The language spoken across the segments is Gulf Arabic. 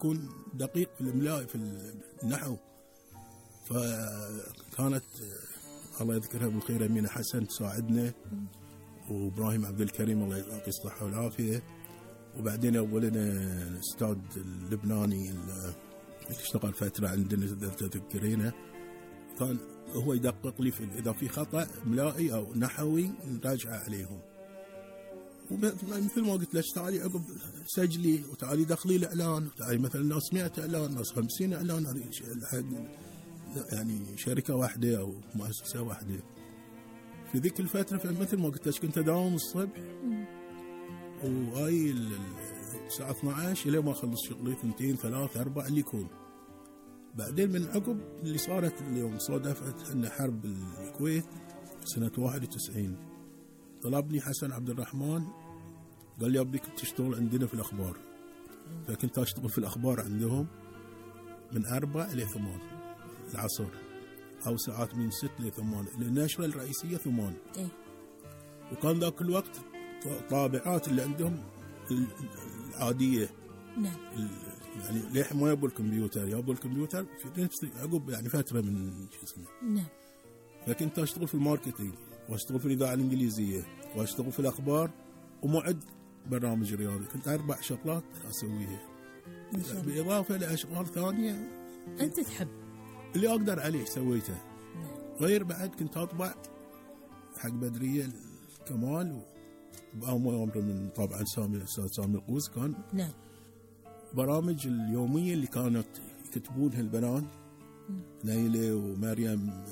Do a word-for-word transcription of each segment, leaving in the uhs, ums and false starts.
يكون دقيق في الإملاء في النحو. فكانت الله يذكرها بالخير أمينة حسن تساعدنا، وإبراهيم عبد الكريم الله يعطيه الصحة والعافية. وبعدين أولنا الأستاذ اللبناني اللي اشتغل فترة عندنا إذا تذكرينه، كان هو يدقق لي في إذا في خطأ إملائي أو نحوي نراجع عليهم. ومثل ما قلت لك تعالي عقب سجلي وتعالي دخلي الإعلان، وتعالي مثلا ناس مئة إعلان ناس خمسين إعلان، يعني شركة واحدة أو مؤسسة واحدة في ذيك الفترة. فمثل ما قلت لك كنت أداوم الصبح وهاي الساعة اثني عشر إلى ما أخلص شغلي اثنتين ثلاثة أربعة اللي يكون. بعدين من عقب اللي صارت اليوم صادفت أن حرب الكويت سنة واحد وتسعين، طلبني حسن عبد الرحمن قال لي أبيك تشتغل عندنا في الأخبار. فكنت أشتغل في الأخبار عندهم من أربعة إلى ثمان العصر، أو ساعات من ست إلى ثمان. النشرة الرئيسية ثمان. إيه؟ وكان ذاك الوقت طابعات اللي عندهم العادية. نعم. يعني ليه ما يبوا الكمبيوتر، يبوا الكمبيوتر في نفس عقب يعني فترة من شو اسمه. نعم. فكنت أشتغل في الماركتينج، وأشتغل في الإذاعة الإنجليزية، وأشتغل في الأخبار، ومعد برنامج رياضي. كنت أربع شغلات أسويها بالإضافة لأشغال ثانية أنت تحب اللي أقدر عليه سويته. نعم. غير بعد كنت أطبع حق بدرية الكمال وبأمر من طبعا سامي الأستاذ سامي القوس. كان نعم. برامج اليومية اللي كانت يكتبونها البنات نيلة ومريم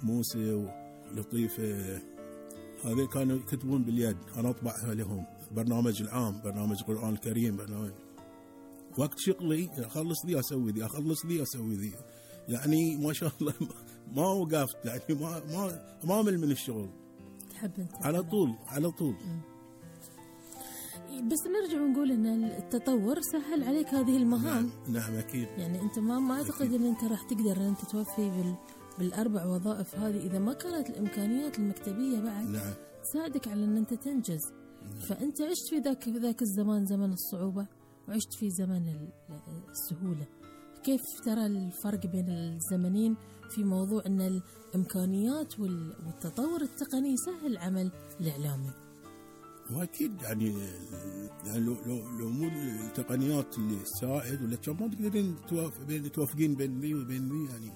موسى ولطيفة، هذه كانوا يكتبون باليد، أنا أطبعها لهم. برنامج العام، برنامج القرآن الكريم، برنامج وقت شغلي أخلص ذي أسوي ذي، أخلص ذي أسوي ذي. يعني ما شاء الله ما وقفت، يعني ما ما ما أمل من الشغل. تحب أنت على طول على طول. م. بس نرجع ونقول ان التطور سهل عليك هذه المهام. نعم, نعم اكيد. يعني انت ما ما اعتقد ان انت راح تقدر ان انت توفي بال بالاربع وظائف هذه اذا ما كانت الامكانيات المكتبيه بعد نعم. تساعدك على ان انت تنجز. نعم. فانت عشت في ذاك في ذاك الزمان زمن الصعوبه، وعشت في زمن السهوله. كيف ترى الفرق بين الزمنين في موضوع ان الامكانيات والتطور التقني سهل عمل الاعلامي؟ واكيد يعني يعني لو لو لو مو التقنيات اللي تساعد ولا كم ما تقدرين بين توافقين بين ذي وبين ذي يعني.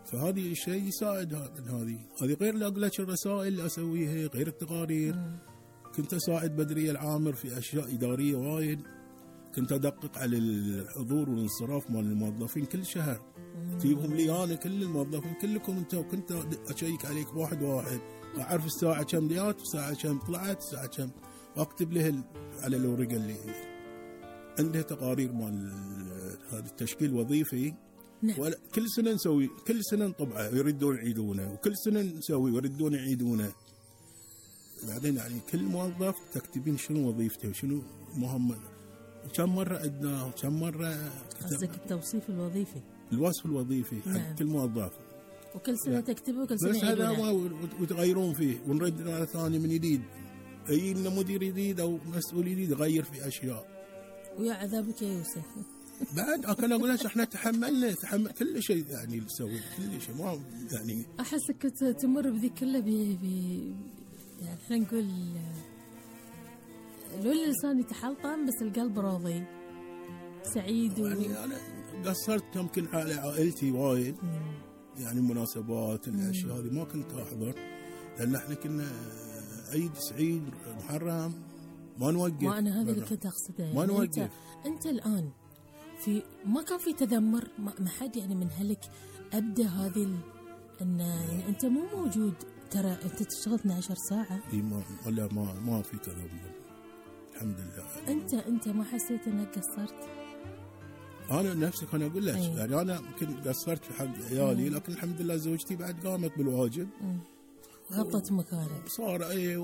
فهذه الشيء يساعد هذه هذه غير لا اقول لك الرسائل اللي اسويها، غير التقارير. م. كنت اساعد بدرية العامر في اشياء اداريه وايد. كنت ادقق على الحضور والانصراف مال الموظفين كل شهر. تجيبهم لي انا كل الموظفين كلكم انت، وكنت اشيك عليك واحد واحد، أعرف الساعة كم جات والساعة كم طلعت الساعة كم، وأكتب له على الورقة اللي عندها تقارير مال هذا التشكيل الوظيفي. نعم. كل سنة نسوي، كل سنة نطبعه يردون يعيدونه، وكل سنة نسوي ويردون يعيدونه. بعدين يعني كل موظف تكتبين شنو وظيفته وشنو مهمته وكم مرة عدناه وكم مرة. قصدك التوصيف الوظيفي؟ الوصف الوظيفي. نعم. حق كل موظف. وكل سنة تكتبه وكل سنة بس هذا ما وتغيرون فيه ونرد على ثاني من جديد. أي إنه مدير جديد أو مسؤول جديد يغير في أشياء. ويا عذابك يا يوسف. بعد أنا أقول لك إحنا تحملنا تحمل كل شيء يعني نسوي كل شيء ما يعني. أحسك كنت تمر بذي كله ب ب يعني إحنا نقول لو اللسان يتحلطم بس القلب راضي سعيد. و... يعني أنا قصرت يمكن على عائلتي وايد. م. يعني مناسبات الاشياء هذه ما كنت احضر، لان احنا كنا عيد سعيد محرم ما نوقف. ما انا هذا اللي كنت اقصده يعني. ما نوقف. انت, انت الان في ما كان في تذمر، ما حد يعني من هلك ابدا هذه ال... ان يعني انت مو موجود، ترى انت تشتغل اثنتي عشرة ساعه. اي ما ولا ما ما في تذمر الحمد لله. انت انت ما حسيت انك قصرت؟ أنا نفسك أنا أقول لك يعني أنا كنت قصرت في حق عيالي، لكن الحمد لله زوجتي بعد قامت بالواجب. غطت مكانك. صار أي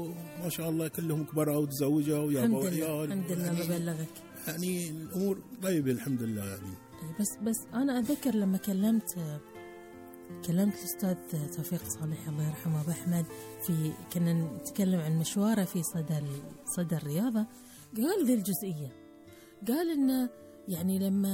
ما شاء الله كلهم كبروا وتزوجوا ويابوا عيال. الحمد لله يعني مبلغك. يعني الأمور طيبة الحمد لله يعني. بس بس أنا أتذكر لما كلمت كلمت الأستاذ توفيق صالح الله يرحمه أبو أحمد في كنا نتكلم عن مشواره في صدى صدى الرياضة، قال ذي الجزئية، قال إنه يعني لما